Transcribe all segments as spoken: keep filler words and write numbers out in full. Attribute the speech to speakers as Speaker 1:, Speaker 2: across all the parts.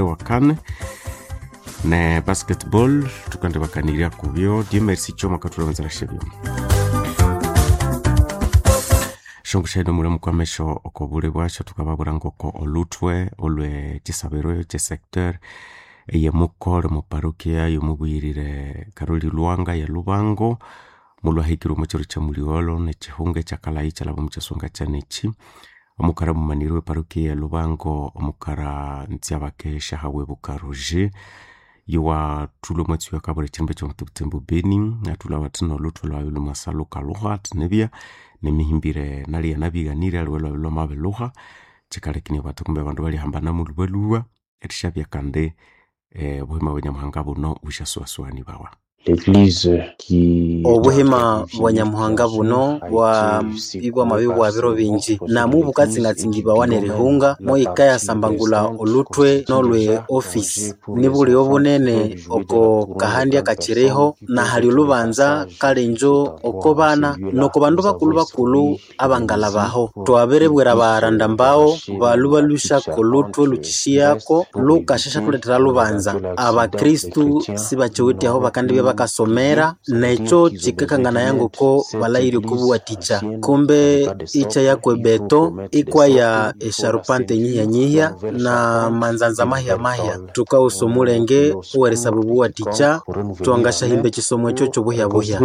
Speaker 1: Wakane ne basketball tukande bakanirya kubyo Dieu merci Choma katulonzera shebyo shongo mulamu kwamesho okobule bwasho tukababura ngoko olutwe olwe chisabiro che secteur eyemukole mu parokia yomubwirire Karoli Lwanga ya Lubango mulwahikire omu chiro kya muligholo nekihunga ekyakalayi kyalaba omu kyasonga kyanechi omukara mumaniri we parokia ya Lubango omukara Ntsiabake Shahawebuka Roger yowathulha omwatsi wakabura ekyirumba kyomuthubuthembu Beni athulha awathi nolhuthwe lwayo lwamasa lhukalhuha athi nibya nemihimbire nali yanabighanire aliwe lwabya lwamabilhuha kyikalekenia bathi kumbe abandu balihambana mulhubalhuba erishabya kandi eh, obuhima bwa Nyamuhanga buno busyasuwasuwanibawa.
Speaker 2: Obuhima bwa Nyamuhanga buno bwa ibwamabya bwa biro bingi namu bukatsingatsingibawa nerihunga moyikayasambangulha olhuthwe nolwe ofisi nibulyo bunene oko kahandya kakyiriho nahali olhubanza kale injo oko bana noko bandu bakulhu-bakulhu abangalhabaho. Twabiribwira abaranda mbawo balhu balhwisyako olhuthwe lhukyishiyako lhukasyasyathulethera lubanza. Abakristu sibakyiwithe aho bakandibya bakasomera nekyo kyikakanganaya ngoko balhaghire okwabuwathikya kumbe ikyayako ebeto ikwaya esyarupante nyihya-nyihya na manzanza mahya-mahya. Thukaghusa omulenge owerisaba obuwathikya thwangasyahimba ekyisomo ekyo kyobuhya-buhya.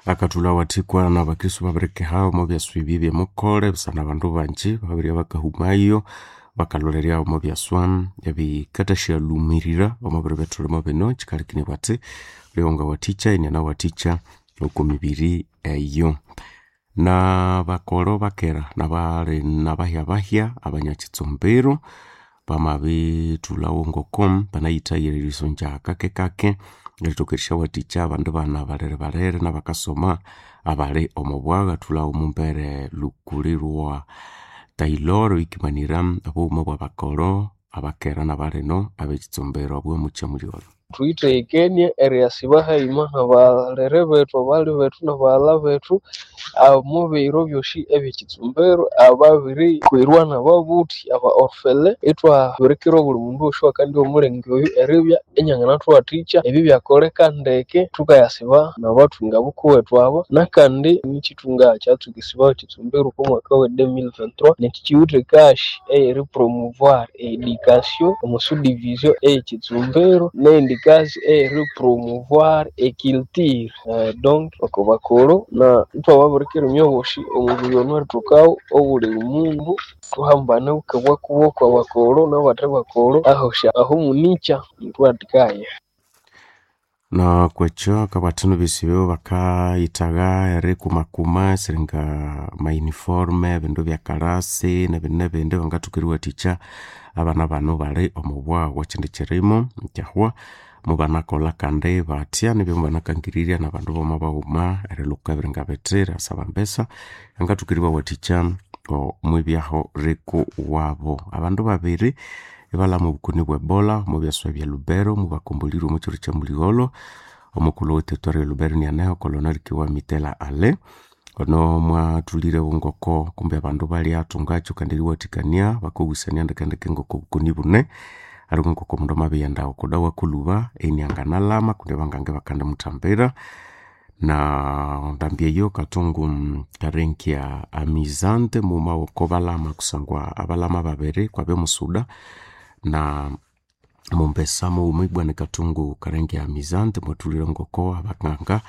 Speaker 1: Akathulha awathikwa nabakristu babirikeha omo byaswa ebi ebyemukole busana abandu bangi babirya bakahumayo bakalholerya omo byaswa ebikathasyalhumirira omo biro ebyathulimo bino kyikalekenia bathi wulye wangawathikya inianawathikya oko mibiri eyo. Nabakolo bakera nabali nabahya-bahya abanyakitsumbiro bamabithulhawo ngoko banayithayire erisonja kake-kake erithoka erisyawathikya abandu bana balere-balere nabakasoma abali omo bwagha athulhawo omumbere lukuli lwa Taylor oyikimanira obughuma bwabakolo abakera nabalino abekitsumbiro obwomukyamulyola.
Speaker 3: Thuyithegekenie eriyasiba hayima nabalere bethu, abali bethu nabaghalha bethu omu biro byosi ebyekitsumbiro ababirikwirwa nababuthi aba orphelin ithwabirikira obuli mundu wosi owakandya omulenge oyu eribya inyanganathuwathikya ebyo byakoleka ndeke thukayasiba nabathunga bukuwethu abo nakandi nikyithunga kyatsukisibawa ekitsumbiro okwa mwaka we deux mille vingt-trois nechi kyiwithe kasi eyeri promouvoir education omu subdivision eyekitsumbiro neyindi kasi eyeri promouvoir eculture donc oko bakulhu na ithwababirikira inywe bosi omubiri ono erithokawo obuli mundu thuhambane bukabwakuboko abakulhu nabathe bakulhu ahosi ahomunikya ithwathikaya.
Speaker 1: Na kwekyo akabathino besibe bakayithagha erikumakuma siringa mauniform ebindu byakalasi nebindi nebindi bangathoka eriwathikya abana bano bali omu bwaghu ekyindi kirimo kyahwa mubanakolha kandi bathya nibyo mubanakangirirya nabandu boma baghuma erilhuka ebiringa bithi erisaba mbesa angathoka eribawathikya omwibyaho riku wabo. Abandu babiri ibalhama obukoni bwe Ebola omu byaswa bya Lubero mubakombolirwe omu kyiro kyamuligholo omukulhu we territory e Lubero nianeho Colonel Kiwa Mitela Ale ono mwathulhirewo ngoko kumbe abandu balyathungakyo kandi eriwathikania bakogusania ndekendeke ngoko obukoni bune aliwe ngoko omundu amabiyenda okodawa kulhuba inianganalhama kundi abangange bakandimuthambira na ndambi eyo Katungu Karenkia Amizante mughuma woko balhama kusangwa abalhama babiri kwabya omusuda na mumbesa mughuma ibwa ni Katungu Karenkia Amizante mwathulhire ngoko abanganga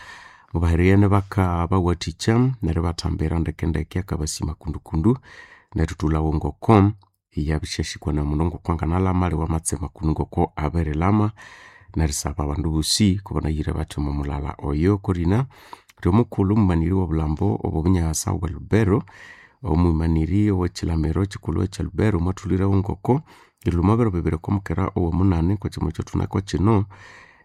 Speaker 1: mubahereriyene bakabawathikya neryo ibathambira ndekendeke akabasima kundukundu nerithulhawo ngoko iyabisyasikwa namundu ngoko anganalhama aliwe amatsema kunu ngoko abirilhama nerisaba abandu bosi kubanayire bathi omo mulala oyo korina lyomukulhu omumaniri wobulhambo obwobunyasa obwa Lubero omwimaniri owekyilamiro kyikulhu ekya Lubero mwathulhirewo ngoko erilhuma biro bibiri okwamukera owomunani kwekyima ekyathunako kyino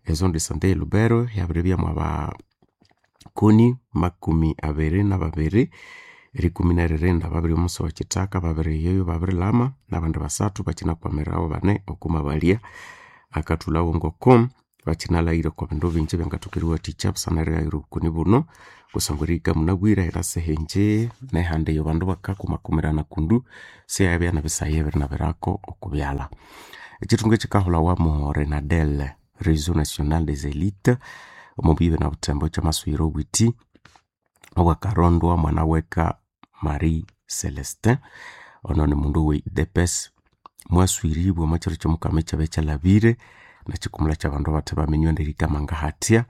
Speaker 1: ezone de sante e Lubero yabiribya mwabakoni makumi abiri nababiri erikumi neririnda babiri omusi wakyithaka babiri yoyo babirilhama nabandi basathu bakyinakwamirawo bane okuma balya akathulhawo ngoko Bakinalahira okwa bindu bingi ebyangathoka eriwathikya busana erighayira obukoni buno kusangwa erihika munabwire era sihingi nehandi eyo abandu bakakumakumirana kundu siyabya nebisayi ebirinabirako okubyalha. Ekithunga ekikahulhawa mu Renadel Réseau National des Élites omo buyibwe na Butembo kyamasuyira obwiti obwakarondwa mwana weka Marie Celestin ono ni mundu owe U D P S mwaswiribwe omwa kiro kyomukama ekyabya kyalhabire nekikumula kyabandu abathe baminywa nerihika mangahathya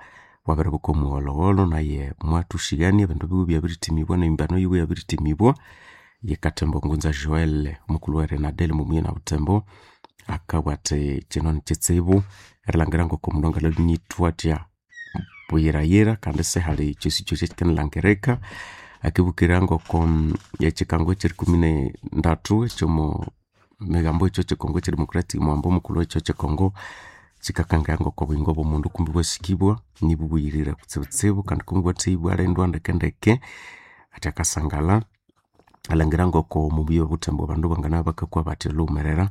Speaker 1: wabiribuka omuwolowolo naye mwathushigania ebindu biwe byabirithimibwa nemimbano yiwe yabirithimibwa. Ye Katembo Ngunza Joel omukulhu wa Renadel omo na Butembo akabugha athi kino nikitsibu erilhangira ngoko omundu angalhwa athya buyirayira kandi sihali kyosikyosi ekikanilhangirika. Akibukira ngoko ekikango ekyerikumi nendathu ekyomo migambo ekyo kyekongo ekyedemocratic muhambo omukulhu wekyo kyekongo kikakangaya ngoko obuyingo bwomundu kumbi bwasikibwa nibubuyirire kutsibutsibu kandi kumbi bwathibwa ibwalindwa ndekendeke. Athi akasangala alhangira ngoko omubuya obuthembo abandu banganabya bakakwa bathi lhughumerera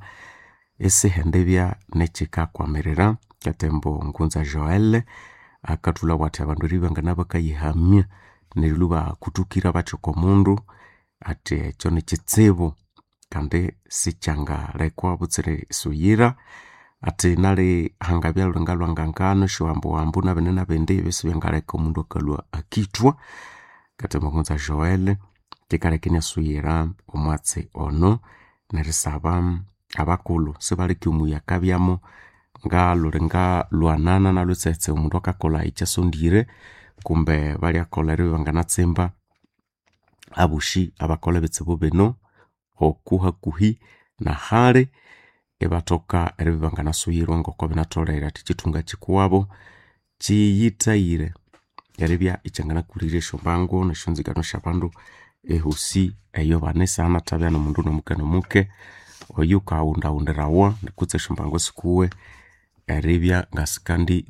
Speaker 1: isihendibya nekyikakwamirira. Katembo Ngunza Joel akathulha athi abandu eribya banganabya bakayihamya neryo lhubakuthukira bathi oko mundu athi ekyo nikitsibu kandi sikyangalekwa butsira isuyira. Athi nali hangabya lhulinga lhwangangano esyohambohambo nabindi nabindi ebyo sibyangaleka omundu akalhwa akithwa. Katembo Ngunza Joel kikaleka inasuyira omwatsi ono nerisaba abakulhu sibaleke omuyi akabyamu ngalhulinga lhwanana nalhutsetse omundu akakolha ekyasondire kumbe balyakolha eribya banganatsimba abosi abakolha ebitsibu bino oku hakuhi nahali ibathoka eribya banganasuyirwa ngoko binatholere. Athi ekithunga kikuwabo kiyithayire eribya ikyanganakulirya esyombango nesyonzigano syabandu ehosi eyo bane isihanathabya nomundu nomuke nomuke oyukawundawundirawa kutse esyombango sikuwe eribya ngasikandi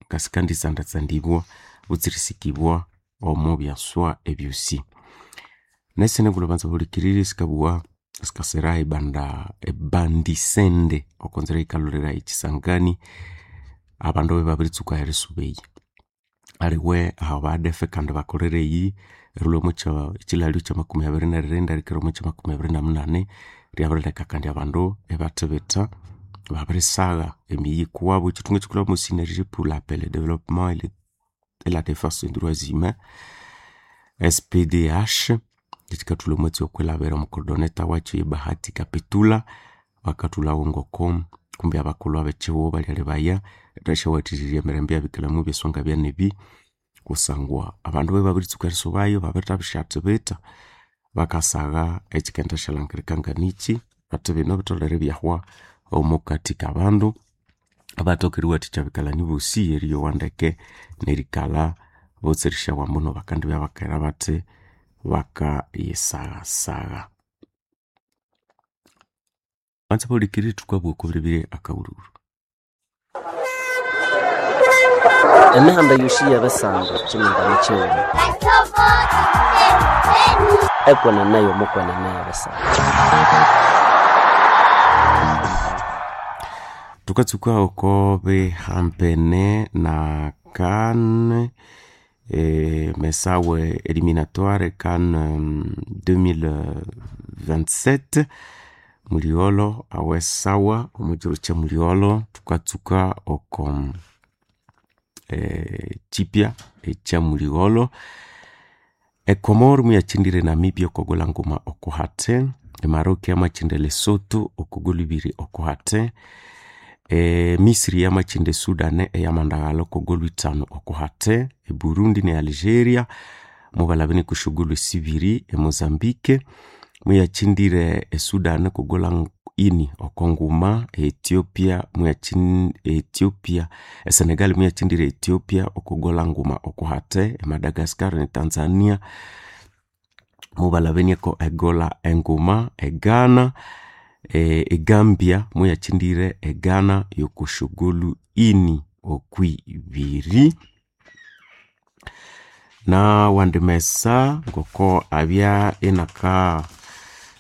Speaker 1: ngasikanditsandatsandibwa kutse erisikibwa omo byaswa ebyosi. Nesindi ngulhu banza bahulikiriri sikabugha sikasira ebanda ebandisende okonzira eyikalhulira ekisangani abandu babiritsuka erisuba eyi. Aliwe aba A D F kandi bakolere eyi erilhwa omwa kyilalyo kyamakumi abiri neririnda erikira omwa kyamakumi abiri namunani lyabirileka kandi abandu ibathibitha babirisagha emiyi yikuwabo. Ekithunga ekikulha mo Synergie pour la paix, le développement et la défense des droits humains S P D H ekikathulha omwatsi okwilhabira omucoordinator wakyo ye Bahati Kapitula bakathulhawo ngoko kumbi abakulhu abekyihugho balyalebaya erisyawathikirya emirembe eyabikalhamu ebyaswa ngabyanebi kusangwa abandu babiritsuka erisubayo babirithabisyathibitha bakasagha ekyikendisyalhangirika nganikyi bathi bino bitholere ibyahwa omukathi kabandu abathoka eriwathikya abikalani bosi eriyowa ndeke nerikalha botsi erisyawa muno bakandibya bakera bathi bakayisaghasagha. Banza bahulikiriri thukabugha okwa akawulhulu.
Speaker 4: Emihanda yosi yebisando kyimingano kyighuma ekwenene yomukwenene yebisando.
Speaker 1: Tukatsuka oko bihampene na CAN eh, mesawe eliminatoire CAN um, deux mille vingt-sept muliolo awesawa omukiro kya muliolo tukatsuka oko eh, chipya ekya muliolo Ekomoro muyakyindire Namibia okogolha nguma okuhate, Emaroc yamakyinda Lesotho okogolha ibiri okuhate, e Misri yamakyinda Sudan eyamandaghalha okogolha ithanu okuhate, Eburundi ne Algeria mubalhabene okwishogolho esibiri, Emozambique muyakyindire Esudan okogolha ini okonguma, Ethiopia muyakyin Ethiopia Esenegal muyakyindire Ethiopia okogolha nguma okuhate, Madagascar ne Tanzania mubalhabeniako egola enguma, Eghana Egambia muyakyindire Eghana yokoshogolho ini okwibiri. Nawandi mesa ngoko abya inaka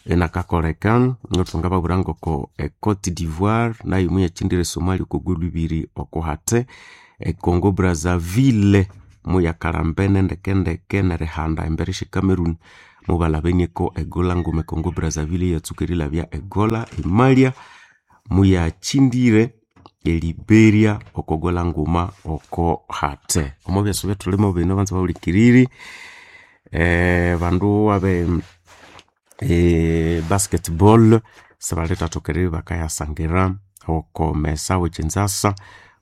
Speaker 1: Enakakoleka ngotwanga babwira ngoko e Cote d'Ivoire nayo muyakindire Somalia oko golu ibiri okuhate. E Congo Brazzaville muyakalambene ndekendeke nerihanda embere sye Cameroon mubalabenieko egola nguma. E Congo Brazzaville yatsuka erilabya egola. Emalia muyakindire e Liberia oko gola nguma oko hate. Omo byasa ebyathulimu bino banza bahulikiriri, eh, bandu abe e basketball sibalithatoka eribya bakayasangira oko mesa w'ekinzasa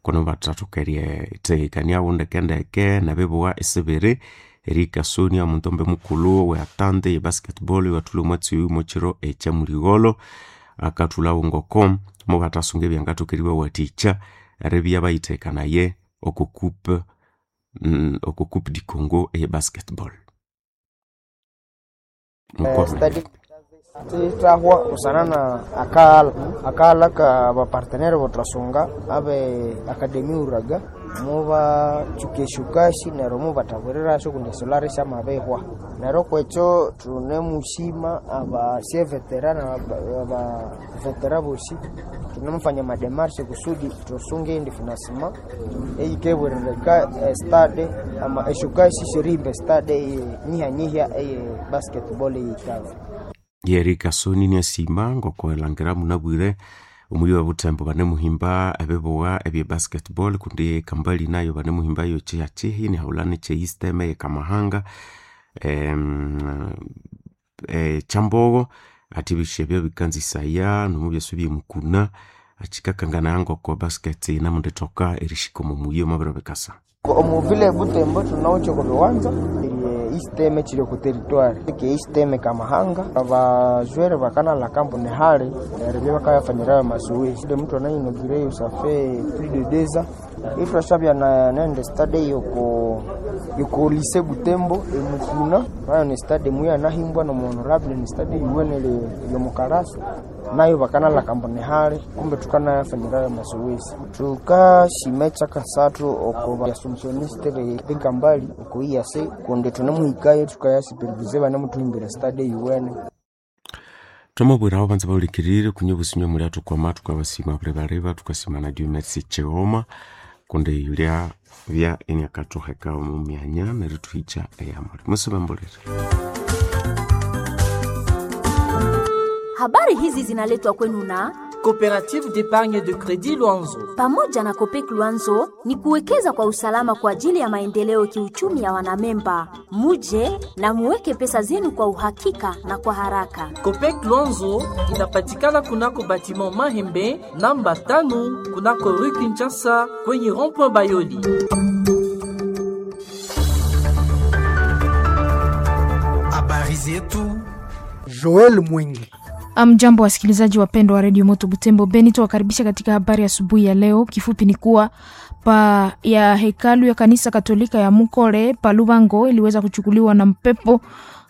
Speaker 1: kuno bathathoka erithehekaniawo ndekendeke nebibuwa esibiri erikasonia omuntombe mukulhu we atante ye basketball iwathulha omwatsi oyu mwekiro ekyamuligholo akathulhawo ngoko mubathasunga ebyangathoka eribawathikya eribya bayithekanaye oko coupe mm, oko coupe du Congo eye basketball.
Speaker 5: Stadi tithahwa busana na akaghala akaghala ka bapartenere bothwasunga abe akademi uraga mubatsuka esyokashi neryo mubathaburirasyo kundi esolari syamabihwa. Neryo kwekyo thunemushima abasyevetera nabavetera bosi thunemufanya amademarche kusudi thusunge eyindi financement eyikebwerereka estade ama esyokashi syerihimba estade eye nyihanyihya eye basketball eyitaba.
Speaker 1: Yerikasoni niasima ngoko elangira munabwire omuyi wa Butembo banemuhimba ebibuwa ebye basketball kundi kambali nayo banemuhimbayo kyihakihi nihaghulana ekye Eastern eyekamahanga em, eh, kyambogo ati ebisyo ebyo bikanzisaya nomubyasa ebyemukuna akikakanganaya ngoko basket yinamundithoka erihika omo muyi omwabiro bikasa.
Speaker 5: Omuvile Butembo thunawithe oko biwanza Eastern ekiri oku territoire eke Eastern Kamahanga abajwere bakanalha kampuni hali neryo ebyabakayafanyirayo amazoezi de muthu anayinogireyo safe plus de deux ans ithwashabya nende stade yoko yoko lycée Butembo emukuna nayo ni stade muyanahimbwa nomu honorable ni stade yuwenele yomukarasi nayo bakanalha kampuni hali kumbe thukanayafanyirayo amazoezi. Thukashima ekyakasathu oko ba assumptioniste bekambali oko I A C kundi thunemuhikayo thukayasupervise banemuthuhimbira stade yuwene.
Speaker 1: Twamabwiraho banza bahulikirire kunya obusinywa muli athukwama thukabasima balibaleba thukasima na Dieu Merci Chighoma kundi yulya bya iniakathuheka omu myanya nerithuhikya eyamuli musibambulire.
Speaker 6: Habari hizi zinaletwa kwenu na
Speaker 7: Coopérative d'épargne de crédit Luanzo.
Speaker 6: Pamoja na Copec Luanzo ni kuwekeza kwa usalama kwa ajili ya maendeleo kiuchumi ya wanamemba. Muje na muweke pesa zenu kwa uhakika na kwa haraka.
Speaker 7: Copec Luanzo inapatikana kunako batiment Mahembe namba tano kunako rue Kinshasa kwenye rond-point Bayoli.
Speaker 8: Habari zetu
Speaker 9: Joel Mwingi.
Speaker 10: Mjambo wasikilizaji wapendwa wa redio Moto Butembo Beni, tuwakaribisha katika habari asubuhi ya leo. Kifupi ni kuwa pa ya hekalu ya kanisa Katolika ya Mukore pa Lubango iliweza kuchukuliwa na mpepo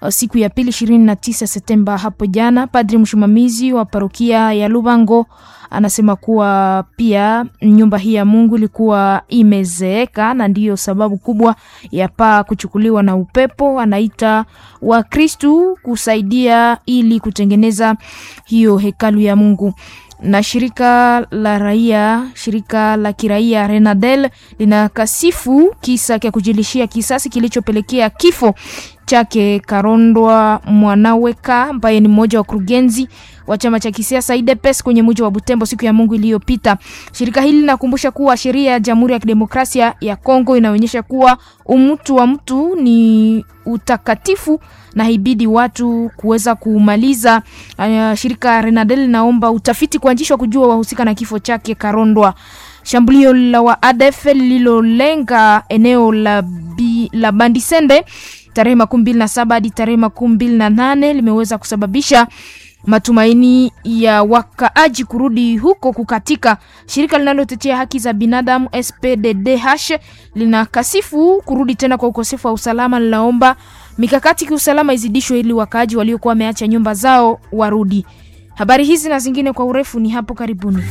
Speaker 10: siku ya pili ishirini na tisa Septemba hapo jana. Padri msimamizi wa parokia ya Lubango anasema kuwa pia nyumba hii ya Mungu ilikuwa imezeeka na ndiyo sababu kubwa ya paa kuchukuliwa na upepo. Anaita Wakristu kusaidia ili kutengeneza hiyo hekalu ya Mungu. Na shirika la raia, shirika la kiraia Renadel linakasifu kisa cha kujilishia kisasi kilichopelekea kifo chake Karondwa Mwanaweka ambaye ni mmoja wa kurugenzi wa chama cha kisiasa U D P S kwenye mji wa Butembo siku ya Mungu iliyopita. Shirika hili linakumbusha kuwa sheria ya Jamhuri ya Kidemokrasia ya Kongo inaonyesha kuwa umutu wa mtu ni utakatifu na ibidi watu kuweza kumaliza. Uh, shirika Renadel linaomba utafiti kuanzishwa kujua wahusika na kifo chake Karondwa. Shambulio la wa A D F lililolenga eneo la, bi, la Bandisende tarehe makumi mbili na saba hadi tarehe makumi mbili na nane limeweza kusababisha matumaini ya wakaaji kurudi huko kukatika. Shirika linalotetea haki za binadamu S P D D H linakasifu kurudi tena kwa ukosefu wa usalama, linaomba mikakati kiusalama izidishwe ili wakaaji waliokuwa wameacha nyumba zao warudi. Habari hizi na zingine kwa urefu ni hapo karibuni.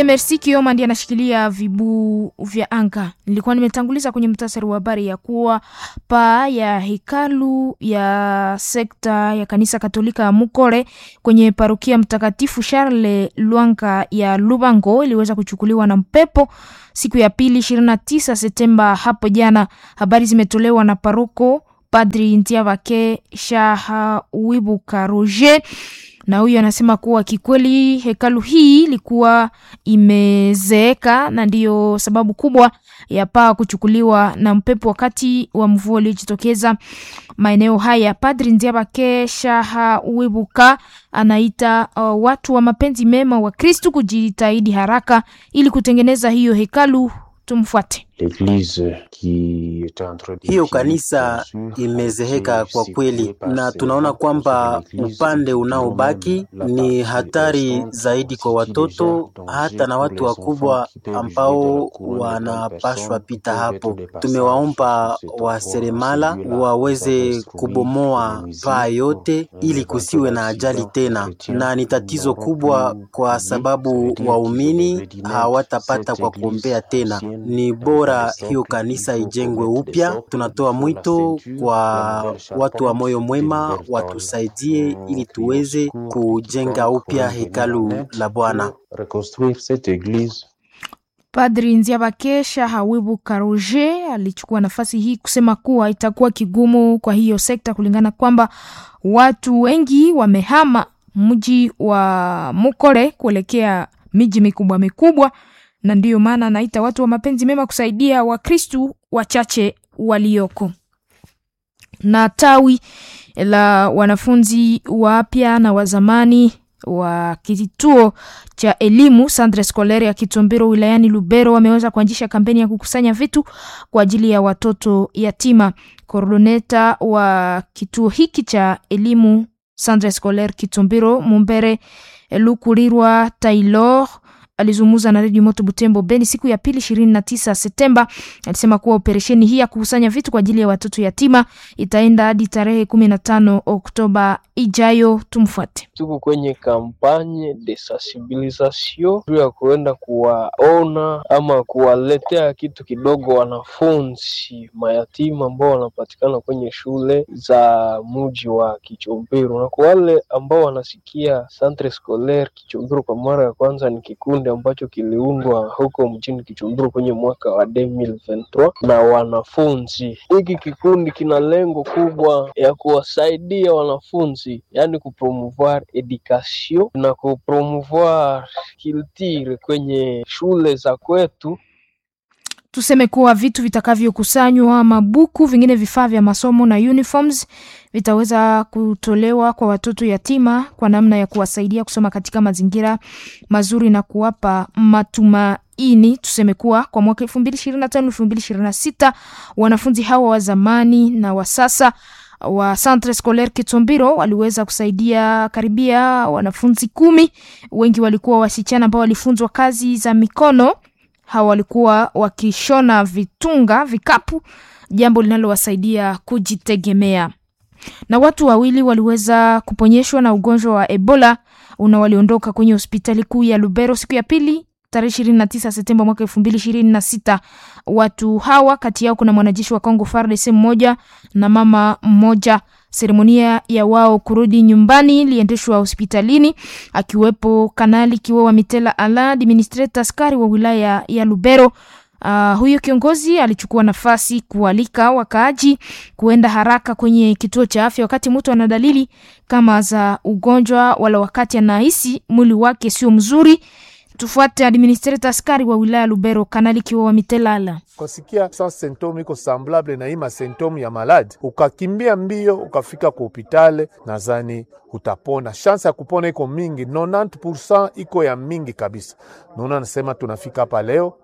Speaker 10: Merci Kioma ndiye anashikilia vibu vya anga. Nilikuwa nimetanguliza kwenye mtasari wa habari ya kuwa paa ya hekalu ya sekta ya kanisa Katolika ya Mukole kwenye parokia Mtakatifu Charles Lwanga ya Lubango iliweza kuchukuliwa na mpepo siku ya pili ishirini na tisa Septemba hapo jana. Habari zimetolewa na paroko Padri Ntiabake Shahawibuka Roger na huyu anasema kuwa kikweli hekalu hii ilikuwa imezeeka na ndiyo sababu kubwa ya paa kuchukuliwa na mpepo wakati wa mvua uliojitokeza maeneo haya. Padri Nziabake Shahawibuka anaita uh, watu wa mapenzi mema wa Kristu kujitahidi haraka ili kutengeneza hiyo hekalu. Tumfuate.
Speaker 2: Hiyo kanisa imezeheka kwa kweli, na tunaona kwamba upande unaobaki ni hatari zaidi kwa watoto hata na watu wakubwa ambao wanapashwa pita hapo. Tumewaomba waseremala waweze kubomoa paa yote ili kusiwe na ajali tena, na ni tatizo kubwa kwa sababu waumini hawatapata kwa kuombea tena. Ni bora hiyo kanisa ijengwe upya. Tunatoa mwito kwa watu wa moyo mwema watusaidie ili tuweze kujenga upya hekalu la Bwana.
Speaker 10: Padri Nziabakesha Hawibu Karoje alichukua nafasi hii kusema kuwa itakuwa kigumu kwa hiyo sekta kulingana kwamba watu wengi wamehama mji wa Mukole kuelekea miji mikubwa mikubwa, na ndiyo maana anaita watu wa mapenzi mema kusaidia Wakristu wachache walioko. Na tawi la wanafunzi wapya na wa zamani wa kituo cha elimu Centre Scolaire ya Kitombero wilayani Lubero wameweza kuanzisha kampeni ya kukusanya vitu kwa ajili ya watoto yatima. Koordoneta wa kituo hiki cha elimu Centre Scolaire Kitombero Mumbere Lukulirwa Taylor alizungumza na Radio Moto Butembo Beni siku ya pili ishirini na tisa Septemba. Alisema kuwa operesheni hii ya kukusanya vitu kwa ajili ya watoto yatima itaenda hadi tarehe kumi na tano Oktoba ijayo. Tumfuate.
Speaker 3: Tuko kwenye kampanye de sensibilisation juu ya kuenda kuwaona ama kuwaletea kitu kidogo wanafunzi mayatima ambao wanapatikana kwenye shule za muji wa Kichombero, na kwa wale ambao wanasikia Centre Scolaire Kichombero kwa mara ya kwanza, ni kikundi ambacho kiliundwa huko mjini Kichombero kwenye mwaka wa elfu mbili ishirini na tatu na wanafunzi. Hiki kikundi kina lengo kubwa ya kuwasaidia wanafunzi, yani kupromouvoir education na kupromouvoir culture kwenye shule za kwetu.
Speaker 10: Tuseme kuwa vitu vitakavyokusanywa, mabuku, vingine vifaa vya masomo na uniforms vitaweza kutolewa kwa watoto yatima kwa namna ya kuwasaidia kusoma katika mazingira mazuri na kuwapa matumaini. Tuseme kuwa kwa mwaka elfu mbili ishirini na tano elfu mbili ishirini na sita wanafunzi hawa wa zamani na wa sasa wa Centre Scolaire Kitombiro waliweza kusaidia karibia wanafunzi kumi. Wengi walikuwa wasichana ambao walifunzwa kazi za mikono. Hawa walikuwa wakishona vitunga, vikapu, jambo linalowasaidia kujitegemea. Na watu wawili waliweza kuponyeshwa na ugonjwa wa Ebola una waliondoka kwenye hospitali kuu ya Lubero siku ya pili tarehe ishirini na tisa Septemba mwaka elfu mbili ishirini na sita. Watu hawa kati yao kuna mwanajeshi wa Kongo F A R D C mmoja na mama mmoja. Seremonia ya wao kurudi nyumbani iliendeshwa hospitalini akiwepo Kanali Kiwewa Mitela Ala, administrator askari wa wilaya ya Lubero. Uh, huyo kiongozi alichukua nafasi kualika wakaaji kuenda haraka kwenye kituo cha afya wakati mtu ana dalili kama za ugonjwa wala wakati anahisi mwili wake sio mzuri. Tufuate administrator askari wa wilaya Lubero, Kanali Kiwewa Mitelala.
Speaker 11: Ukasikia sa symptome iko semblable na hii masymptome ya maladi, ukakimbia mbio ukafika ku hopitale, nadhani utapona. Chance ya kupona iko mingi, tisini iko ya mingi kabisa. Naona nasema tunafika hapa leo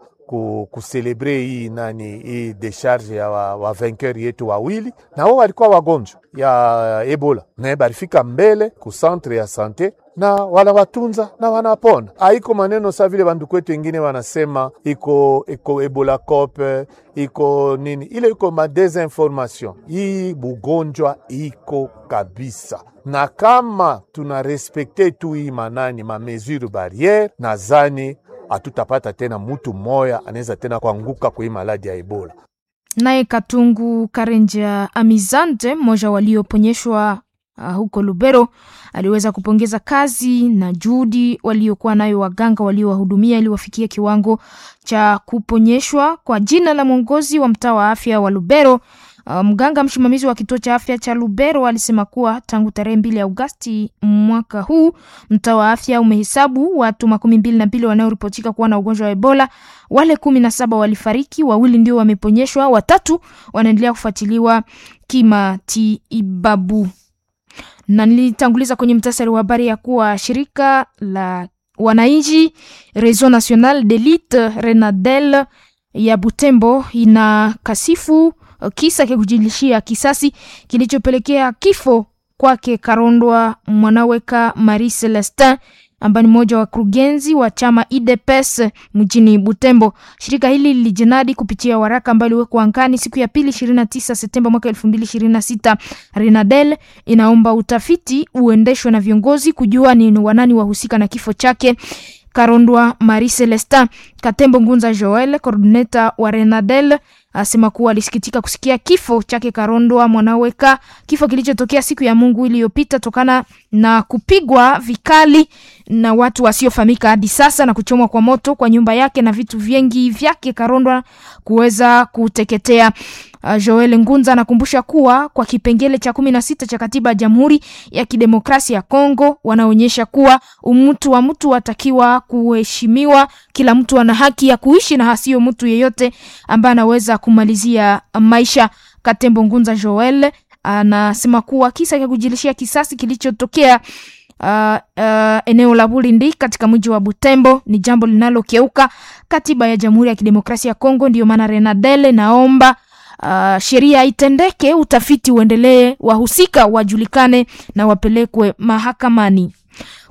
Speaker 11: kucelebre hii nani hii decharge ya wa, wa vainqueur yetu wawili, na wao walikuwa wagonjwa ya Ebola na barifika mbele ku centre ya sante na wala watunza na wanapona. Haiko maneno sa vile banduku wetu wengine wanasema iko iko Ebola cope iko nini ile, iko ma desinformation. Hii bugonjwa iko kabisa, na kama tuna respekte tu hii manani ma mesure barriere, nazani Hatutapata tena mutu moya anaweza tena kuanguka kwa hii maladi ya Ebola.
Speaker 10: Naye Katungu Karenja Amizante, mmoja walioponyeshwa uh, huko Lubero, aliweza kupongeza kazi na juhudi waliokuwa nayo waganga waliowahudumia ili wafikie kiwango cha kuponyeshwa. Kwa jina la mwongozi wa mtaa wa afya wa Lubero, uh, mganga msimamizi wa kituo cha afya cha Lubero alisema kuwa tangu tarehe mbili Agosti mwaka huu mtaa wa afya umehesabu watu makumi mbili na mbili wanaoripotika kuwa na ugonjwa wa Ebola. Wale kumi na saba walifariki, wawili ndio wameponyeshwa, watatu wanaendelea kufuatiliwa kimatibabu. Na nilitanguliza kwenye mtasari wa habari ya kuwa shirika la wananchi Réseau National d'Elite Renadel ya Butembo ina kasifu kisa cha kujilishia kisasi kilichopelekea kifo kwake Karondwa Mwanaweka Marie Celestin ambaye ni mmoja wa kurugenzi wa chama U D P S mjini Butembo. Shirika hili lilijinadi kupitia waraka ambao uliwekwa angani siku ya pili ishirini na tisa Septemba mwaka elfu mbili ishirini na sita. Renadel inaomba utafiti uendeshwe na viongozi kujua ni wanani wahusika na kifo chake Karondwa Marie Celestin. Katembo Ngunza Joel, coordinator wa Renadel, asema kuwa alisikitika kusikia kifo chake Karondwa Mwanaweka, kifo kilichotokea siku ya Mungu iliyopita tokana na kupigwa vikali na watu wasiofahamika hadi sasa na kuchomwa kwa moto kwa nyumba yake na vitu vingi vyake Karondwa kuweza kuteketea. Joel Ngunza anakumbusha kuwa kwa kipengele cha kumi na sita cha katiba ya Jamhuri ya Kidemokrasia ya Kongo wanaonyesha kuwa umutu wa mtu atakiwa kuheshimiwa, kila mtu ana haki ya kuishi na hasio mtu yeyote ambaye anaweza kumalizia maisha. Katembo Ngunza Joel anasema kuwa kisa cha kujilishia kisasi kilichotokea Uh, uh, eneo la Bulindi katika mji wa Butembo ni jambo linalokeuka katiba ya Jamhuri ya Kidemokrasia ya Kongo. Ndiyo maana Renadele naomba uh, sheria itendeke, utafiti uendelee, wahusika wajulikane na wapelekwe mahakamani.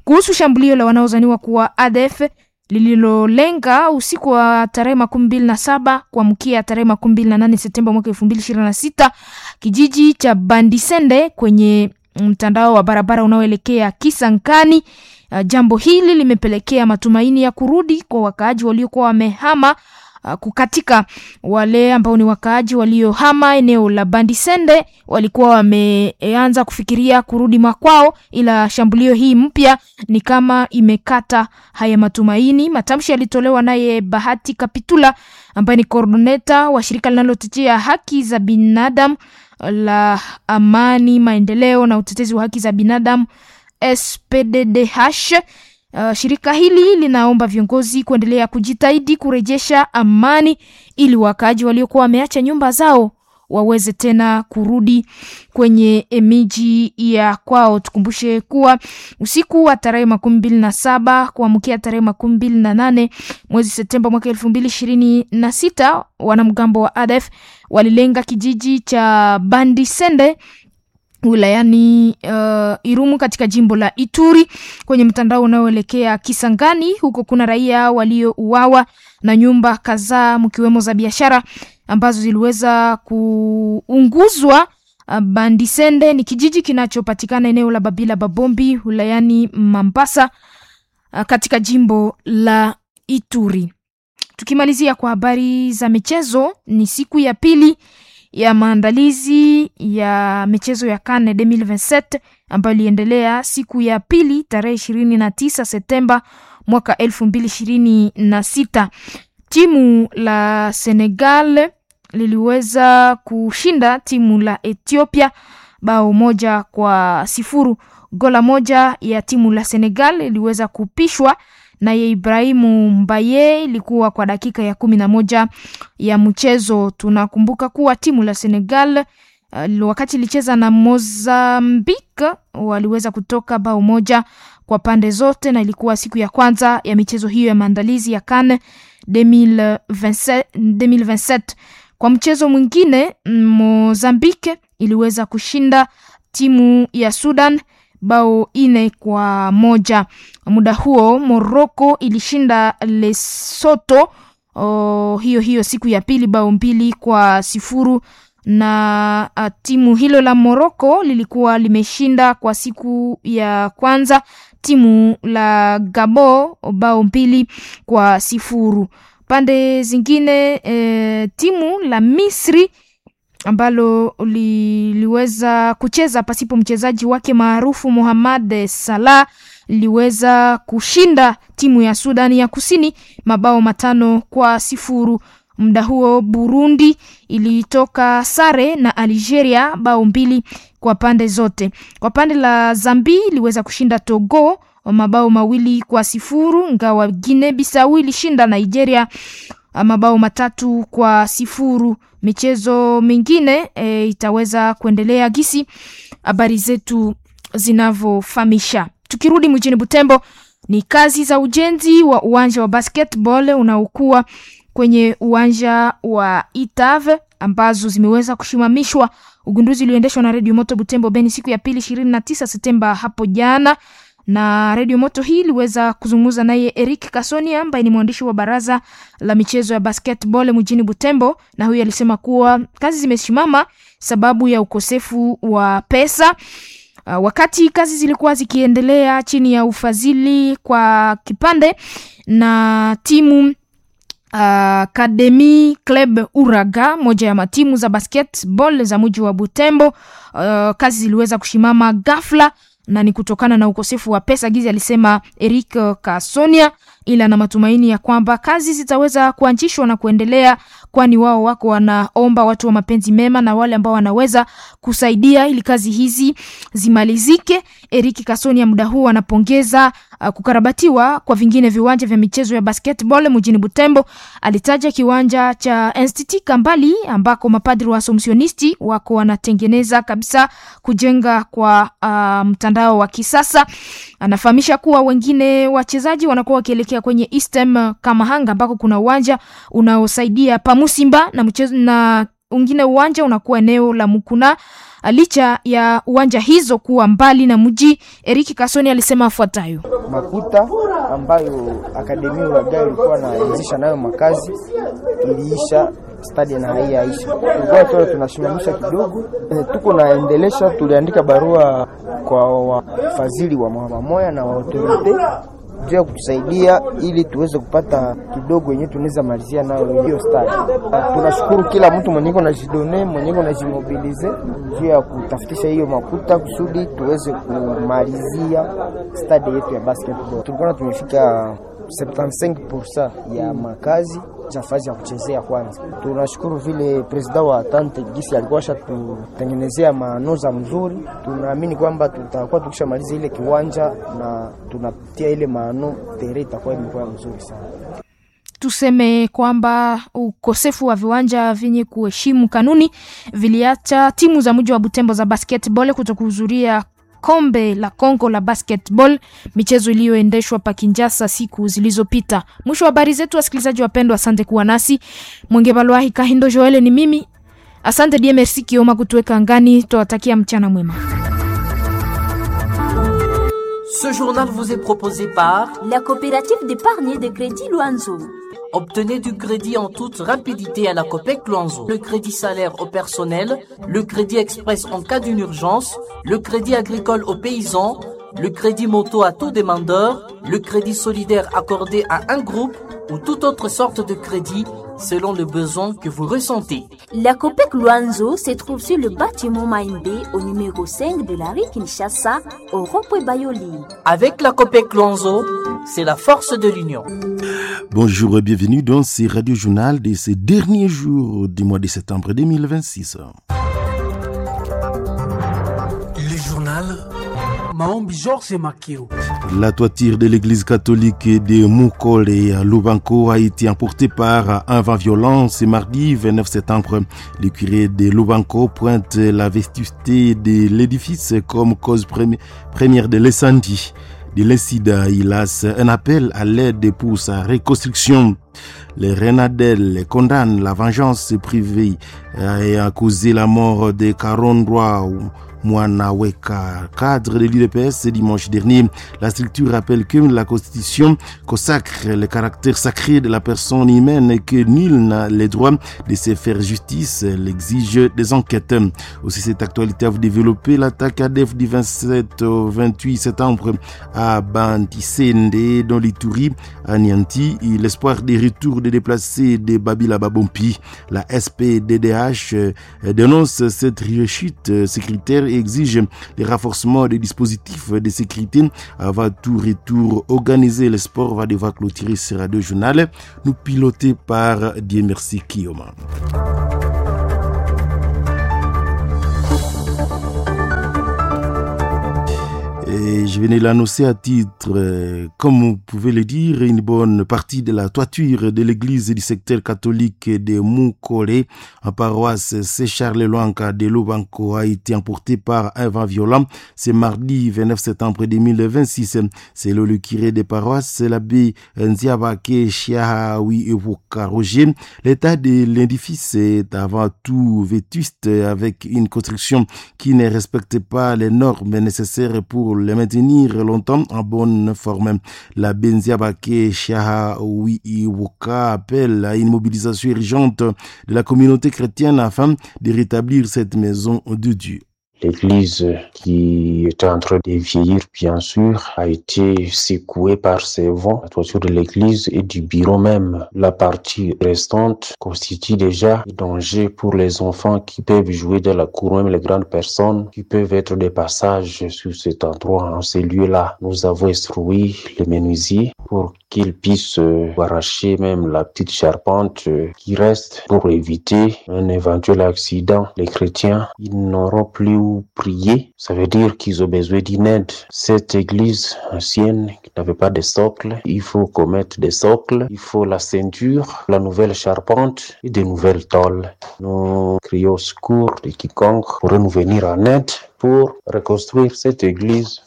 Speaker 10: Kuhusu shambulio la wanaozaniwa kuwa A D F lililolenga usiku wa tarehe makumi mbili na saba kuamkia tarehe makumi mbili na nane Septemba mwaka elfu mbili ishirini na sita kijiji cha Bandisende kwenye mtandao wa barabara unaoelekea Kisangani. Uh, jambo hili limepelekea matumaini ya kurudi kwa wakaaji waliokuwa wamehama uh, kukatika. Wale ambao ni wakaaji waliohama eneo la Bandisende walikuwa wameanza kufikiria kurudi makwao, ila shambulio hii mpya ni kama imekata haya matumaini. Matamshi yalitolewa naye Bahati Kapitula ambaye ni coordinator wa shirika linalotetea haki za binadamu la amani, maendeleo na utetezi wa haki za binadamu S P D D H. Uh, shirika hili linaomba viongozi kuendelea kujitahidi kurejesha amani ili wakaaji waliokuwa wameacha nyumba zao waweze tena kurudi kwenye miji ya kwao. Tukumbushe kuwa usiku wa tarehe makumi mbili na saba kuamkia tarehe makumi mbili na nane mwezi Septemba mwaka elfu mbili ishirini na sita wanamgambo wa A D F walilenga kijiji cha Bandisende wilayani uh, Irumu katika jimbo la Ituri kwenye mtandao unaoelekea Kisangani. Huko kuna raia waliouawa na nyumba kadhaa mkiwemo za biashara ambazo ziliweza kuunguzwa. Bandisende ni kijiji kinachopatikana eneo la Babila Babombi wilayani Mambasa katika jimbo la Ituri. Tukimalizia kwa habari za michezo, ni siku ya pili ya maandalizi ya michezo ya CAN elfu mbili ishirini na saba ambayo iliendelea siku ya pili tarehe ishirini na tisa Septemba mwaka elfu mbili ishirini na sita. Timu la Senegal liliweza kushinda timu la Ethiopia bao moja kwa sifuru. Gola moja ya timu la Senegal iliweza kupishwa naye Ibrahimu Mbaye, ilikuwa kwa dakika ya kumi na moja ya mchezo. Tunakumbuka kuwa timu la Senegal uh, wakati ilicheza na Mozambique waliweza kutoka bao moja kwa pande zote, na ilikuwa siku ya kwanza ya michezo hiyo ya maandalizi ya CAN elfu mbili ishirini na saba. Kwa mchezo mwingine, Mozambique iliweza kushinda timu ya Sudan bao ine kwa moja. Muda huo Morocco ilishinda Lesotho oh, hiyo hiyo siku ya pili bao mbili kwa sifuru, na timu hilo la Morocco lilikuwa limeshinda kwa siku ya kwanza timu la Gabon bao mbili kwa sifuru. Pande zingine e, timu la Misri ambalo liliweza kucheza pasipo mchezaji wake maarufu Mohamed Salah liweza kushinda timu ya Sudani ya Kusini mabao matano kwa sifuru. Muda huo Burundi ilitoka sare na Algeria bao mbili kwa pande zote. Kwa pande la Zambi iliweza kushinda Togo mabao mawili kwa sifuru, ngawa Guinea Bissau ilishinda Nigeria mabao matatu kwa sifuru. Michezo mingine e, itaweza kuendelea gisi habari zetu zinavyofahamisha. Tukirudi mjini Butembo, ni kazi za ujenzi wa uwanja wa basketball unaokuwa kwenye uwanja wa Itave ambazo zimeweza kushimamishwa. Ugunduzi ulioendeshwa na Radio Moto Butembo Beni siku ya pili ishirini na tisa Septemba hapo jana, na Radio Moto hii iliweza kuzungumza naye Eric Kasoni ambaye ni mwandishi wa baraza la michezo ya basketball mjini Butembo, na huyu alisema kuwa kazi zimesimama sababu ya ukosefu wa pesa. Uh, wakati kazi zilikuwa zikiendelea chini ya ufadhili kwa kipande na timu Academy uh, Club Uraga, moja ya matimu za basketball za mji wa Butembo. Uh, kazi ziliweza kushimama ghafla na ni kutokana na ukosefu wa pesa, gizi alisema Eric Kasonia, ila na matumaini ya kwamba kazi zitaweza kuanzishwa na kuendelea, kwani wao wako wanaomba watu wa mapenzi mema na wale ambao wanaweza kusaidia ili kazi hizi zimalizike. Eric Kasonia muda huu anapongeza uh, kukarabatiwa kwa vingine viwanja vya michezo ya basketball mjini Butembo. Alitaja kiwanja cha Institut Kambali ambako mapadri wa Assumptionisti wako wanatengeneza kabisa kujenga kwa uh, mtandao wa kisasa. Anafahamisha kuwa wengine wachezaji wanakuwa wakielekea kwenye Eastem Kamahanga ambako kuna uwanja unaosaidia Pamusimba na mchezo na wengine uwanja unakuwa eneo la Mukuna. Licha ya uwanja hizo kuwa mbali na mji, Eric Kasoni alisema afuatayo:
Speaker 5: makuta ambayo akademia Uraga ilikuwa naanzisha nayo makazi iliisha, stadi na haiyaisha, tulikuwa tu tunasimamisha kidogo, tuko naendelesha. Tuliandika barua kwa wafadhili wa Moya na wa autorite juu ya kutusaidia ili tuweze kupata kidogo yenyewe tunaweza malizia nayo hiyo stadi. Tunashukuru kila mtu mwenye iko najidone mwenye iko najimobilize juu ya kutafutisha hiyo makuta kusudi tuweze kumalizia stadi yetu ya basketball. Tulikuwa tumefika sabini na tano ya makazi fazi ya kuchezea kwanza. Tunashukuru vile presida wa tante gisi alikuwa ashatutengenezea manoza mzuri. Tunaamini kwamba tutakuwa tukishamaliza ile kiwanja na tunatia ile maano tere itakuwa imekuwa mzuri sana.
Speaker 10: Tuseme kwamba ukosefu wa viwanja vyenye kuheshimu kanuni viliacha timu za mji wa Butembo za basketball kutokuhudhuria kombe la Kongo la basketball, michezo iliyoendeshwa pa Kinshasa siku zilizopita. Mwisho wa habari zetu, wasikilizaji wapendwa, asante kuwa nasi. Mwenge Balwahi Kahindo Joel ni mimi, asante D M R C Kioma kutuweka angani. Twawatakia mchana mwema.
Speaker 7: Ce journal vous est proposé par
Speaker 6: la coopérative d'épargne de crédit Luanzo.
Speaker 7: Obtenez du crédit en toute rapidité à la Copec Luanzo. Le crédit salaire au personnel, le crédit express en cas d'une urgence, le crédit agricole aux paysans, le crédit moto à tout demandeur, le crédit solidaire accordé à un groupe ou toute autre sorte de crédit selon le besoin que vous ressentez.
Speaker 6: La Copec Luanzo se trouve sur le bâtiment Maïmbé au numéro cinq de la rue Kinshasa au rond-point Bayoli.
Speaker 7: Avec la Copec Luanzo, c'est la force de l'union.
Speaker 12: Bonjour et bienvenue dans ce radio journal de ces derniers jours du mois de septembre deux mille vingt-six.
Speaker 8: Le journal Maombi Georges Makeo.
Speaker 12: La toiture de l'église catholique de Mukole à Lubanko a été emportée par un vent violent ce mardi vingt-neuf septembre. Le curé de Lubanko pointe la vétusté de l'édifice comme cause première de l'incendie. De l'incident, il lance un appel à l'aide pour sa reconstruction. Les Renadel condamnent la vengeance privée et a causé la mort de quarante-trois Mwanaweka, cadre de l'U D P S dimanche dernier. La structure rappelle que la Constitution consacre le caractère sacré de la personne humaine et que nul n'a le droit de se faire justice. Elle exige des enquêtes. Aussi, cette actualité a développé l'attaque A D F du vingt-sept au vingt-huit septembre à Bantisende, dans l'Ituri, à Nianti. L'espoir des retours des déplacés de Babila Babompi. La S P D D H dénonce cette rechute sécuritaire et exige le renforcement des dispositifs de sécurité avant tout retour organisé. Le sport va devoir clôturer ce radio journal, nous piloté par Dieu merci Kiyoma. Et je venais l'annoncer à titre, euh, comme vous pouvez le dire, une bonne partie de la toiture de l'église du secteur catholique de Mukole, en paroisse Saint-Charles Lwanga de Lubanko, a été emportée par un vent violent ce mardi vingt-neuf septembre deux mille vingt-six. C'est le, le curé des paroisses, l'abbé Nziabake Chiahawi Evoka Roger. L'état de l'édifice est avant tout vétuste, avec une construction qui ne respecte pas les normes nécessaires pour le maintenir longtemps en bonne forme. La Benziabake Chiahawi Iwoka appelle à une mobilisation urgente de la communauté chrétienne afin de rétablir cette maison de Dieu.
Speaker 13: L'église qui était en train de vieillir, bien sûr, a été secouée par ces vents. La toiture de l'église et du bureau même. La partie restante constitue déjà un danger pour les enfants qui peuvent jouer dans la cour, même les grandes personnes qui peuvent être de passage sur cet endroit, en ces lieux-là. Nous avons instruit les menuisiers pour qu'ils puissent arracher même la petite charpente qui reste pour éviter un éventuel accident. Les chrétiens, ils n'auront plus où prier, ça veut dire qu'ils ont besoin d'une aide. Cette église ancienne qui n'avait pas de socle, il faut qu'on mette des socles, il faut la ceinture, la nouvelle charpente et de nouvelles tôles. Nous crions au secours de quiconque pourrait nous venir en aide pour reconstruire cette église.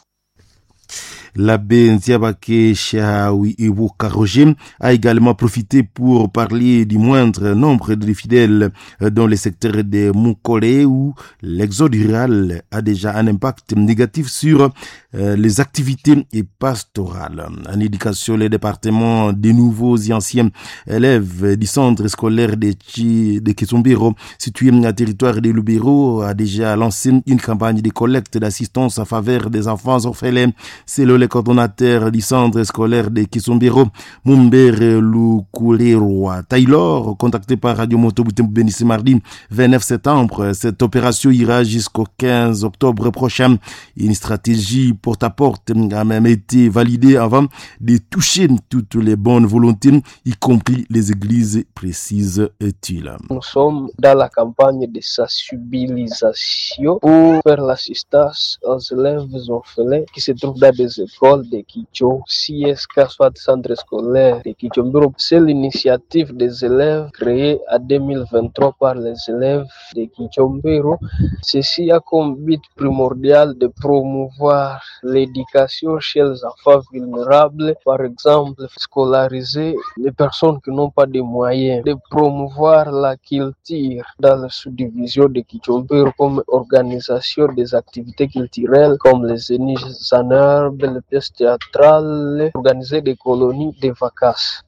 Speaker 12: L'abbé Nziabake Chiahawi Iwoka Roger a également profité pour parler du moindre nombre de fidèles dans le secteur de Mukole où l'exode rural a déjà un impact négatif sur les activités et pastorales. En éducation, les départements des nouveaux et anciens élèves du centre scolaire de, Chi, de Kisombiro, situé à territoire de Lubero, a déjà lancé une campagne de collecte d'assistance en faveur des enfants orphelins. C'est le coordonnateur du centre scolaire de Kisombiro, Mumbere Lukulerwa Taylor, contacté par Radio Moto Butembo Beni ce mardi vingt-neuf septembre. Cette opération ira jusqu'au quinze octobre prochain. Une stratégie porte à porte a même été validée avant de toucher toutes les bonnes volontés, y compris les églises, précise-t-il.
Speaker 3: Nous sommes dans la campagne de sensibilisation pour faire l'assistance aux élèves orphelins qui se trouvent dans des écoles de Kicho, C S K, soit centre scolaire de Kichombiro. C'est l'initiative des élèves créée en deux mille vingt-trois par les élèves de Kichombiro. Ceci a comme but primordial de promouvoir l'éducation chez les enfants vulnérables, par exemple scolariser les personnes qui n'ont pas de moyens, de promouvoir la culture dans la sous-division de Kichombiro comme organisation des activités culturelles comme les zéniths en herbe, les pièces théâtrales, organiser des colonies de vacances.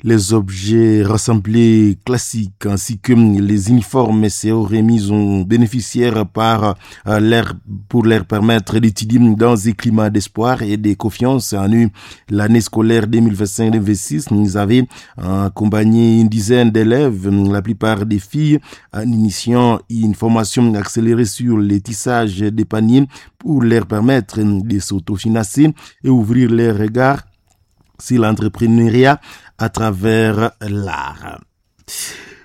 Speaker 12: Les objets rassemblés classiques ainsi que les uniformes seront remis aux bénéficiaires par l'air pour leur permettre d'étudier dans un climat d'espoir et de confiance. En eu l'année scolaire deux mille vingt-cinq deux mille vingt-six, nous avons accompagné une dizaine d'élèves, la plupart des filles, en initiant une formation accélérée sur les tissages des paniers pour leur permettre de s'autofinancer et ouvrir leur regard sur l'entrepreneuriat à travers l'art.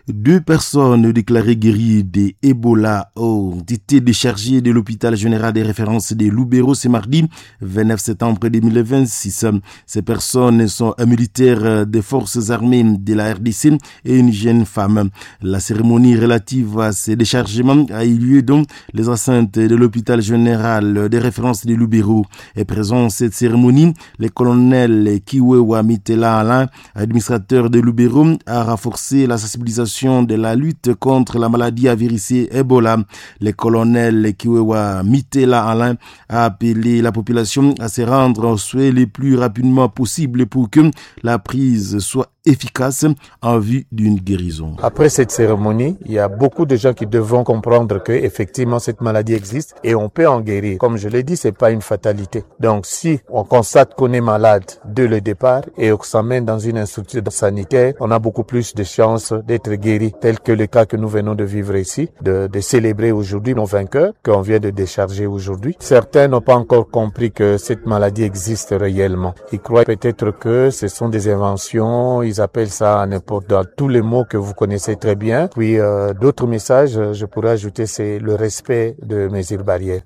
Speaker 12: Deux personnes déclarées guéries de Ebola ont été déchargées de l'hôpital général des références de Lubero ce mardi vingt-neuf septembre deux mille vingt-six. Ces personnes sont un militaire des forces armées de la R D C et une jeune femme. La cérémonie relative à ces déchargements a eu lieu dans les enceintes de l'hôpital général des références de Lubero. Est présent à cette cérémonie, le colonel Kiwewa Mitela Alain, administrateur de Lubero, a renforcé la sensibilisation l'organisation de la lutte contre la maladie à virus Ebola. Le colonel Kiwewa Mitela Alain a appelé la population à se rendre en soins le plus rapidement possible pour que la prise soit efficace en vue d'une guérison.
Speaker 11: Après cette cérémonie, il y a beaucoup de gens qui devront comprendre que effectivement cette maladie existe et on peut en guérir. Comme je l'ai dit, c'est pas une fatalité. Donc si on constate qu'on est malade dès le départ et qu'on s'amène dans une structure sanitaire, on a beaucoup plus de chances d'être guéri, tel que le cas que nous venons de vivre ici, de, de célébrer aujourd'hui nos vainqueurs qu'on vient de décharger aujourd'hui. Certains n'ont pas encore compris que cette maladie existe réellement. Ils croient peut-être que ce sont des inventions, ils appellent ça n'importe dans tous les mots que vous connaissez très bien. Puis euh, d'autres messages, je pourrais ajouter, c'est le respect de mesures barrières.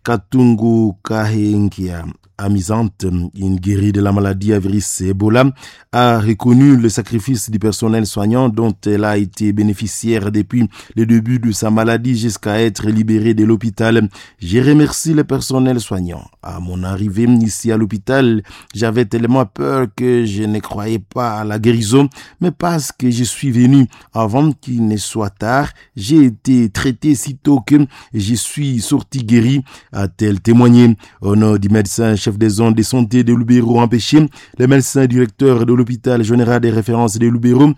Speaker 12: Katungu Kahengia, amusante, une guérie de la maladie à virus Ebola, a reconnu le sacrifice du personnel soignant dont elle a été bénéficiaire depuis le début de sa maladie jusqu'à être libérée de l'hôpital. J'ai remercié le personnel soignant. À mon arrivée ici à l'hôpital, j'avais tellement peur que je ne croyais pas à la guérison, mais parce que je suis venu avant qu'il ne soit tard, j'ai été traité sitôt que je suis sorti guéri, a-t-elle témoigné. Au nom du médecin chef des zones de santé de Lubero empêché, le médecin directeur de l'hôpital général des références de Lubero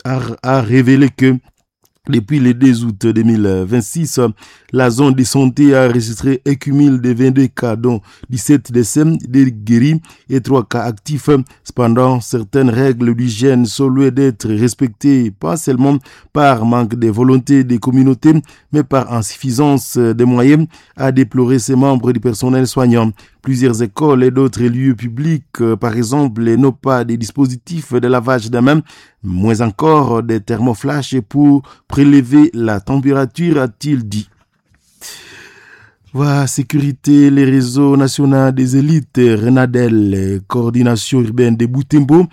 Speaker 12: a, a révélé que depuis le deux août deux mille vingt-six, la zone de santé a enregistré un cumul de vingt-deux cas, dont dix-sept décès, des guéris et trois cas actifs. Cependant, certaines règles d'hygiène sont loin d'être respectées, pas seulement par manque de volonté des communautés, mais par insuffisance des moyens, a déploré ses membres du personnel soignant. Plusieurs écoles et d'autres lieux publics, par exemple, n'ont pas de dispositifs de lavage des mains, moins encore des thermoflash pour prélever la température, a-t-il dit. Voilà, sécurité, les réseaux nationaux des élites, Renadel, coordination urbaine de Butembo,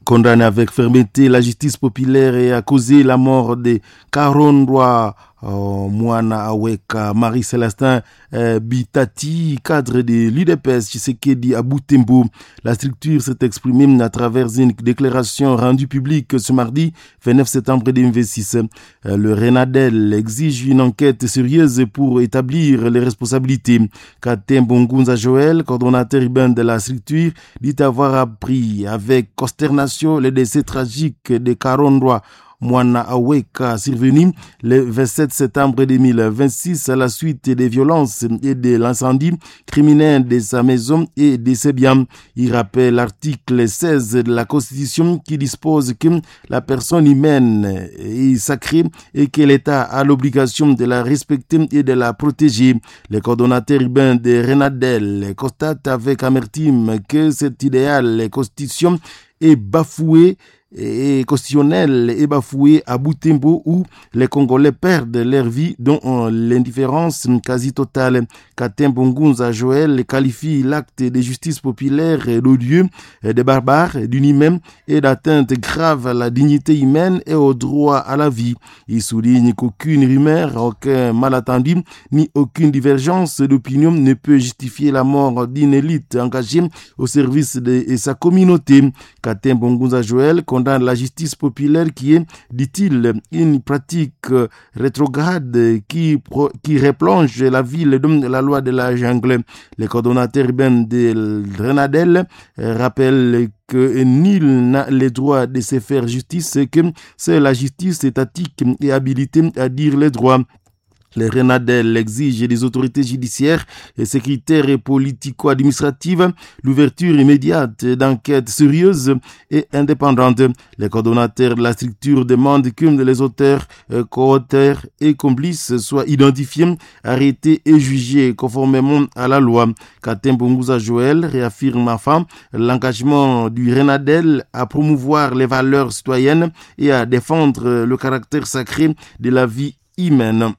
Speaker 12: condamne avec fermeté la justice populaire et a causé la mort de Karondwa euh, Mwana Aweka, Marie-Célestin euh, Bitati, cadre de l'U D P S Tshisekedi à Butembo. La structure s'est exprimée à travers une déclaration rendue publique ce mardi vingt-neuf septembre deux mille vingt-six. Euh, le Renadel exige une enquête sérieuse pour établir les responsabilités. Katem Bongunza Joël, coordonnateur urbain de la structure, dit avoir appris avec consternation le décès tragique de Karondwa Mwana Aweka, survenu le vingt-sept septembre deux mille vingt-six à la suite des violences et de l'incendie criminel de sa maison et de ses biens. Il rappelle l'article seize de la Constitution qui dispose que la personne humaine est sacrée et que l'État a l'obligation de la respecter et de la protéger. Le coordonnateur urbain de Renadel constate avec amertume que cet idéal constitution est bafoué et constitutionnel est bafoué à Butembo où les Congolais perdent leur vie dont l'indifférence quasi totale. Katembo Ngunza Joël qualifie l'acte de justice populaire d'odieux, de barbare, d'inhumain et d'atteinte grave à la dignité humaine et au droit à la vie. Il souligne qu'aucune rumeur, aucun malentendu, ni aucune divergence d'opinion ne peut justifier la mort d'une élite engagée au service de sa communauté. Katembo Ngunza Joël condamne la justice populaire qui est, dit-il, une pratique rétrograde qui, pro, qui replonge la ville dans la loi de la jungle. Le coordonnateur urbain de Renadel rappelle que nul n'a le droit de se faire justice et que c'est la justice étatique et habilitée à dire les droits. Les Renadel exigent des autorités judiciaires et sécuritaires et politico-administratives l'ouverture immédiate d'enquêtes sérieuses et indépendantes. Les coordonnateurs de la structure demandent que les auteurs, co-auteurs et complices soient identifiés, arrêtés et jugés conformément à la loi. Katembo Ngunza Joël réaffirme enfin l'engagement du Renadel à promouvoir les valeurs citoyennes et à défendre le caractère sacré de la vie humaine.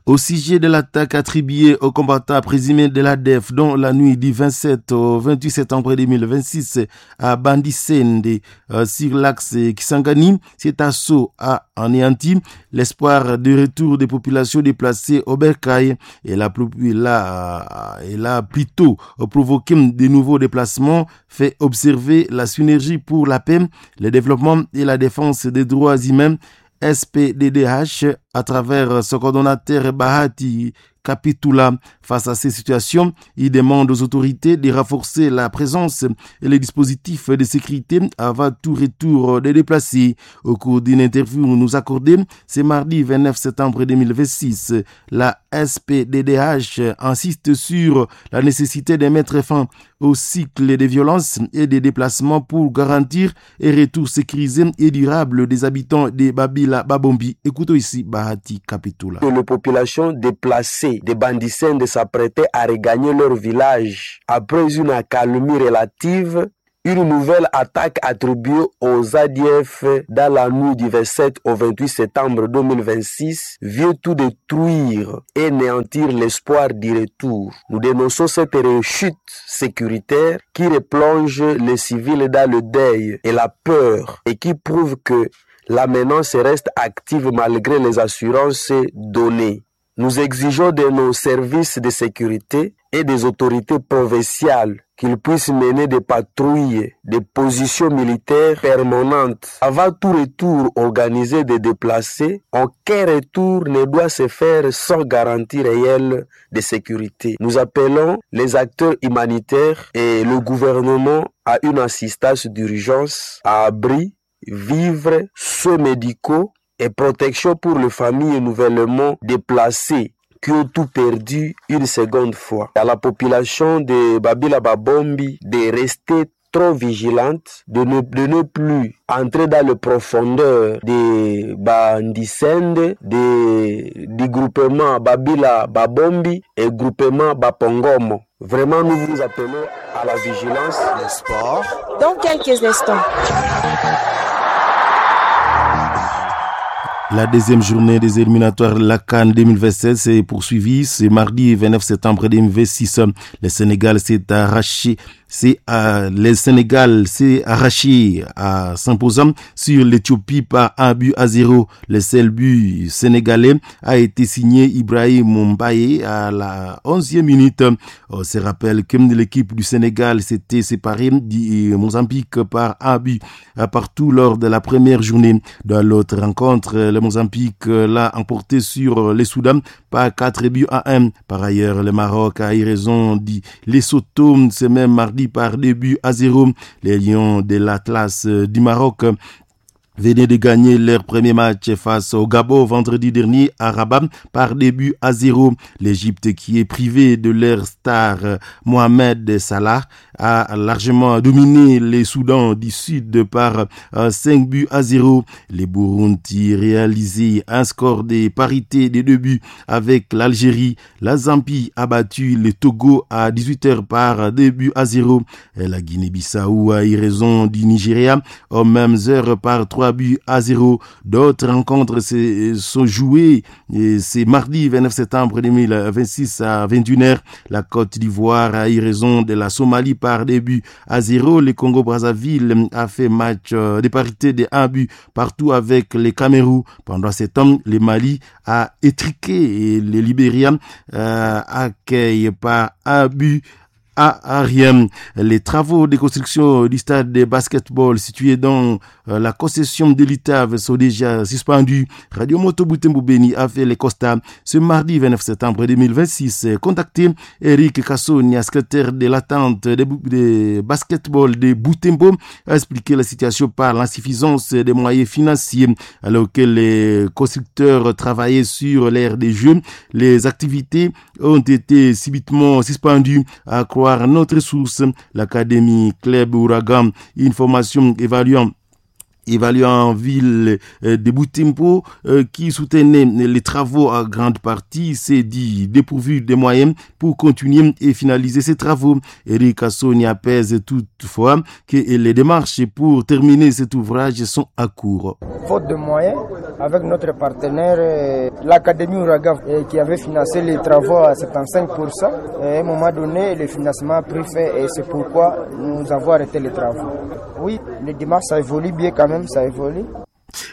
Speaker 12: Au sujet de l'attaque attribuée aux combattants présumés de l'A D F dont la nuit du vingt-sept au vingt-huit septembre deux mille vingt-six à Bandisende euh, sur l'axe Kisangani, cet assaut a anéanti l'espoir de retour des populations déplacées au Bercail et la, la, et a plutôt provoqué de nouveaux déplacements, fait observer la synergie pour la paix, le développement et la défense des droits humains S P D D H à travers son coordonnateur Bahati Kapitula. Face à ces situations, il demande aux autorités de renforcer la présence et les dispositifs de sécurité avant tout retour des déplacés. Au cours d'une interview nous accordée ce mardi vingt-neuf septembre deux mille vingt-six, la S P D D H insiste sur la nécessité de mettre fin au cycle des violences et des déplacements pour garantir un retour sécurisé et durable des habitants de Babila Babombi. Écoutons ici Bahati Kapitula.
Speaker 14: Les populations déplacées des Bandisende s'apprêtaient à regagner leur village après une accalmie relative. Une nouvelle attaque attribuée aux A D F dans la nuit du vingt-sept au vingt-huit septembre deux mille vingt-six vient tout détruire et néantir l'espoir du retour. Nous dénonçons cette rechute sécuritaire qui replonge les civils dans le deuil et la peur et qui prouve que la menace reste active malgré les assurances données. Nous exigeons de nos services de sécurité et des autorités provinciales qu'ils puissent mener des patrouilles, des positions militaires permanentes. Avant tout retour organisé des déplacés, aucun retour ne doit se faire sans garantie réelle de sécurité. Nous appelons les acteurs humanitaires et le gouvernement à une assistance d'urgence, à abri, vivres, soins médicaux et protection pour les familles nouvellement déplacées qui ont tout perdu une seconde fois. À la population de Babila Babombi de rester trop vigilante, de ne, de ne plus entrer dans le profondeur des Bandisende, des, du groupement Babila Babombi et groupement Bapongomo. Vraiment, nous vous appelons à la vigilance.
Speaker 15: Le sport.
Speaker 16: Dans quelques instants.
Speaker 12: La deuxième journée des éliminatoires de la CAN deux mille vingt-sept s'est poursuivie ce mardi vingt-neuf septembre deux mille vingt-six. Le Sénégal s'est arraché, c'est à, le Sénégal s'est arraché à s'imposant sur l'Éthiopie par un but à zéro. Le seul but sénégalais a été signé Ibrahim Mbaye à la onzième minute. On se rappelle que l'équipe du Sénégal s'était séparée du Mozambique par un but partout lors de la première journée. Dans l'autre rencontre, le Mozambique l'a emporté sur le Soudan par quatre buts à un. Par ailleurs, le Maroc a eu raison dit Lesotho ce même mardi par deux buts à zéro. Les Lions de l'Atlas du Maroc venaient de gagner leur premier match face au Gabon vendredi dernier à Rabat par deux buts à zéro. L'Égypte, qui est privée de leur star Mohamed Salah, a largement dominé les Soudan du Sud par cinq buts à zéro. Les Burundi réalisaient un score de parité de deux buts avec l'Algérie. La Zambie a battu le Togo à dix-huit heures par deux buts à zéro. La Guinée-Bissau a eu raison du Nigeria aux mêmes heures par trois buts à zéro. D'autres rencontres sont jouées c'est mardi vingt-neuf septembre deux mille vingt-six à vingt et une heures. La Côte d'Ivoire a eu raison de la Somalie par deux buts à zéro. Le Congo-Brazzaville a fait match de parité de un but partout avec le Cameroun. Pendant ce temps, le Mali a étriqué et le Libéria euh, accueille par un but à rien. Les travaux de construction du stade de basketball situé dans la concession de l'I T A V sont déjà suspendus. Radio Moto Butembo Beni a fait les constats ce mardi vingt-neuf septembre deux mille vingt-six. Contacté Eric Kassonia, secrétaire de l'attente de, de basketball de Butembo, a expliqué la situation par l'insuffisance des moyens financiers. Alors que les constructeurs travaillaient sur l'aire des jeux, les activités ont été subitement suspendues. À croire notre source, l'Académie Club Ouragan, une formation évaluant Évalué en ville de Butembo, qui soutenait les travaux à grande partie, s'est dit dépourvu des moyens pour continuer et finaliser ces travaux. Eric Assonia pèse toutefois que les démarches pour terminer cet ouvrage sont à court.
Speaker 5: Faute de moyens, avec notre partenaire, l'Académie Ouraga, qui avait financé les travaux à soixante-quinze pour cent, à un moment donné, le financement a pris fin et c'est pourquoi nous avons arrêté les travaux. Oui, les démarches, ça évolue bien quand même, ça évolue.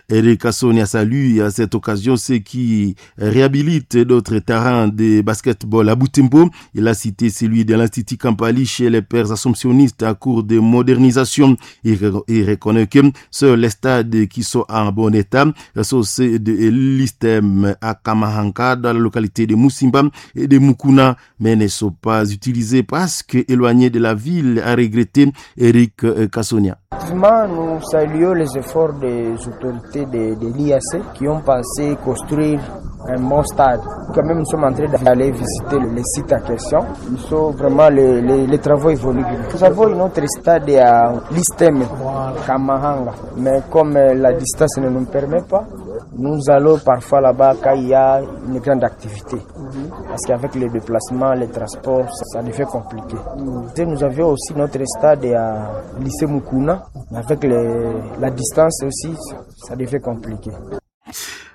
Speaker 12: Eric Assonia salue à cette occasion ceux qui réhabilitent d'autres terrains de basketball à Butembo. Il a cité celui de l'Institut Kampali chez les pères assomptionnistes à cours de modernisation. Il, il reconnaît que seuls les stades qui sont en bon état sont ceux de l'I S T E M à Kamahanka dans la localité de Moussimba et de Mukuna, mais ne sont pas utilisés parce que éloignés de la ville, a regretté Eric Kassonia.
Speaker 5: Effectivement, nous saluons les efforts des autorités de, de l'I A C qui ont pensé construire un bon stade. Quand même, nous sommes en train d'aller visiter le site en question. Ils sont vraiment, les, les, les travaux évoluent. Nous avons une autre stade à l'I S T E M, Kamahanga. Mais comme la distance ne nous permet pas, nous allons parfois là-bas quand il y a une grande activité. Parce qu'avec les déplacements, les transports, ça, ça devient compliqué. Et nous avions aussi notre stade à lycée Mukuna. Avec les, la distance aussi, ça devient compliqué.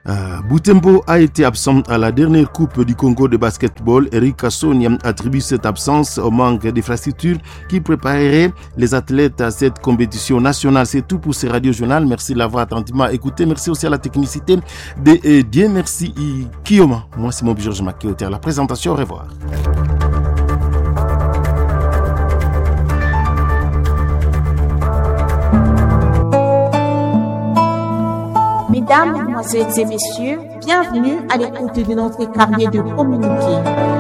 Speaker 12: Euh, Butembo a été absent à la dernière Coupe du Congo de basketball. Eric Kassonia attribue cette absence au manque d'infrastructures qui préparerait les athlètes à cette compétition nationale. C'est tout pour ce radio journal. Merci de l'avoir attentivement écouté. Merci aussi à la technicité de euh, Dieu merci Kiyoma. Moi, c'est mon Georges Makéoté à la présentation. Au revoir.
Speaker 15: Mesdames, Mesdemoiselles et Messieurs, bienvenue à l'écoute de notre carnet de communiqué.